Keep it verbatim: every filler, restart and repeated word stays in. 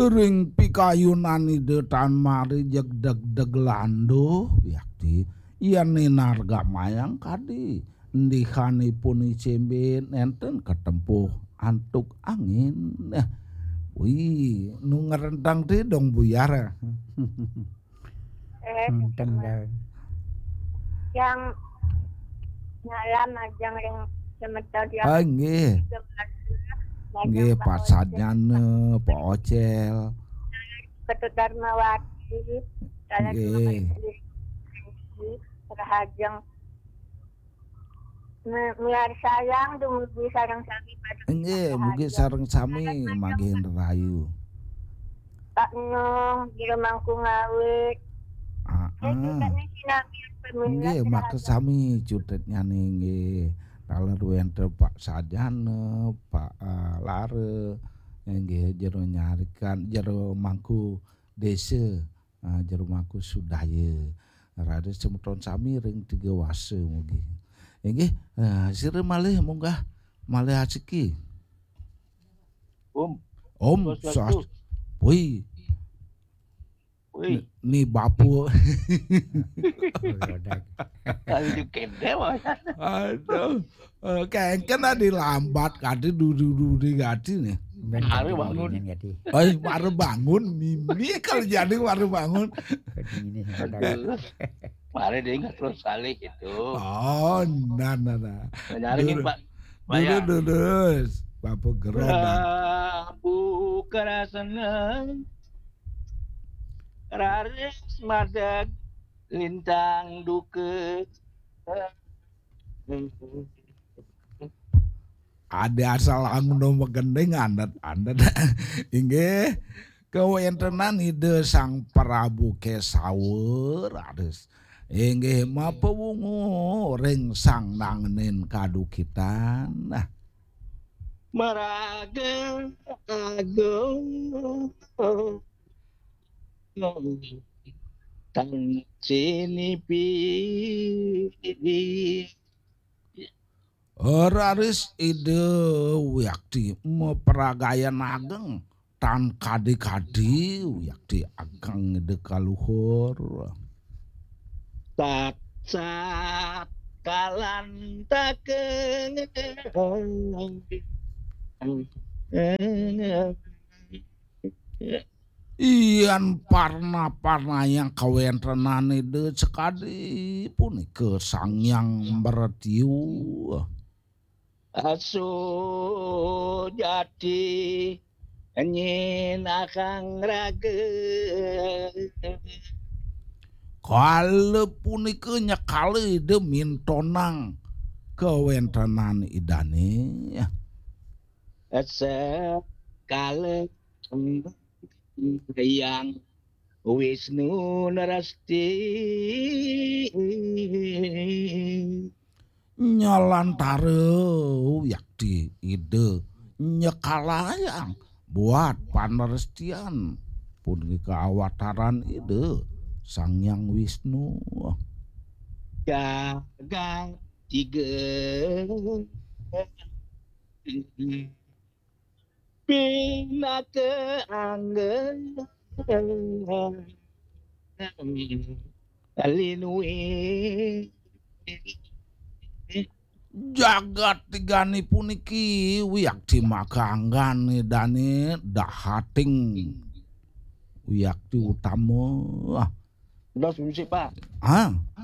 Ring pikayunan Ida tan mari jegdeg-deg landuh, wiakti. Yen ninargamayang kadi, ndihanipun icembe nenten katempuh antuk angin. Nah, wih, nu ngerentang ti dong buyar. Eh, Enten dah. Yang nyalam majeng ring semeton yang Ah, nggih. Tiga belas. Majeng Nggih, Pak Pak Ocel. Sajana, Pak Ocel. Ketut Darmawati. Salah Nggih. Rahajeng. Me-, miarsayang dumugi sareng sami pada Nggih, mugi sareng sami maging rahayu. Pak Nong, Jero Mangku Ngawit. Ah, Eh, ah. Juga nih sinami pemirsa Nggih, rahayu. Makasami cutetnyane nggih. Taler wenten Pak Sajana, Pak, eh, Lara, nggih, Jero Nyarikan, Jero Mangku Desa. Ah, Jero Mangku Sudaya. Raris semeton sami ring tiga wasa mugi. Inggih, ah, sira malih munggah malih asiki. Om. Om Swastiastu. Swas-, wih. Wih. Ni, ni bapu. Aduh, kede, Mas. Aduh. Eh, kengken adi lambat kadi dudi-dudi kadi nih. Mari bangun. Kadi. Oi, mari bangun, mimi kalau jadi mari bangun. Aduh. Mari dia ingat terus kali gitu. Oh, nah, nah, nah. Nyari Pak. Dulu, dulu. Bapak Gerodak. Prabu Karasena. Raris madeg lintang duka. Ada asal angno magending andet-andet. Inggih, kawentenan Ida Sang Prabu Kesawa raris. Inggih, mapawungu ring sang nangnin kadukitan. Nah. Maraga agung. Tan sinipi. Raris Ida Wiakti mapragayan ageng tan kadi-kadi Wiakti ageng Ida kaluhur. Tatsat kalantaka. Yan parna-parnayang kawentenan Ida sakadi punika Sang Hyang Mretyu. Asu jati nyinakang raga. Kala punika nyekala Ida mintonang kawentenan Idane. Sekala Hyang Wisnu Narasti. Nyalantara Wiakti Ida nyekalayang buat panerestian punika awataran Ida Sang Hyang Wisnu. Jagat tiga pinaka angga linui. Jagat tigane puniki Wiakti makanggan Idane dahating Wiakti utama. Dos musik, Pak. Ah.